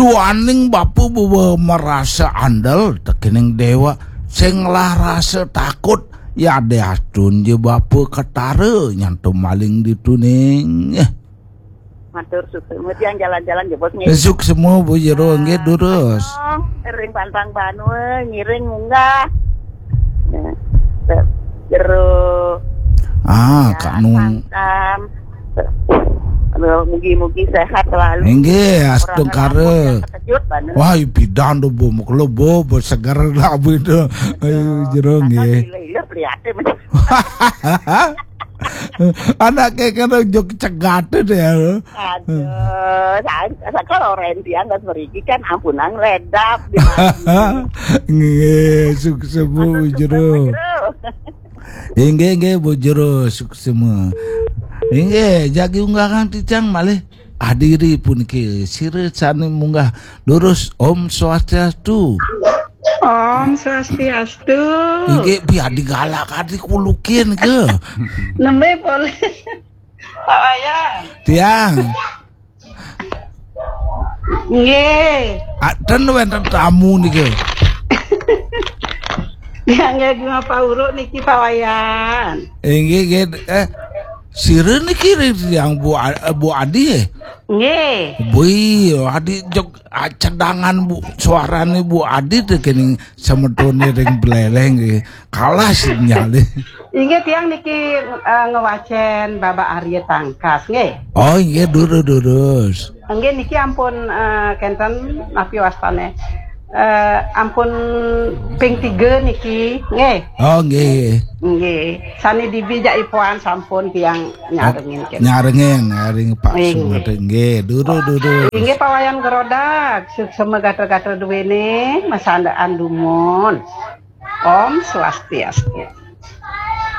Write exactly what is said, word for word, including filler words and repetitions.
Tuaning bapa bawa marasa andel tekening dewa, sing lah rasa takut, ya deh astun je bapa ketara nyanto maling dituning. Eh, Matur suksma, tiang jalan-jalan jebos nggih. Suksma Bu Jero nggih durus. Ring pantang banua ngiring munggah. Nah, Jero Ah, Kak Nung. Santam. Aduh, mugi-mugi sehat selalu. Inggih, astungkara. Terkejut banget. Wah, pidan do Bu, muklo Bu, Bu seger lah Bu itu. Ayo Jero nggih. Gila-gila prihatin. Anake kena jog cegat deh. Aduh, saya kalau Randy angkat meriki kan ampunang ledap di Nggih, sukses Bu Jero. Inggih, inggih Bu Jero, sukses semua. Inggih, jagi unggahan titiang malih. Adiri puniki sira sane munggah durus. Om Swastiastu. Om Swastiastu. Inggih, bi adi galak adi kulukin ke. Nembe boleh. Pak Wayan. Tiang. Nggih. Aten wenten tamu niki. Ya nggih, Pak Uruk niki Pak Wayan. Inggih, nggih. Eh, sira niki ring tiang Bu A- Bu Adi. Eh? Nggih. Bui, Adi jog ah, cedangan Bu, suarane Bu Adi to kening semetone ring Buleleng nggih. Kalah sinyale. Inggih, tiang niki eh, ngewacen Babak Arya Tangkas nggih. Oh, inggih durus-durus. Nggih, niki ampun eh, kenten napi wastane. Eh, ampun ping tiga niki nggih. Oh, nggih. Nggih. Sane dibi jak ipuan sampun tiang nyarengin kenten. Nyarengin, nyaring Pak Inggih. Sumade. Nggih, durus-durus. Inggih, Pak Wayan Gerodak, suksma gatra-gatra duwene, masandaan dumun. Om Swastiastu.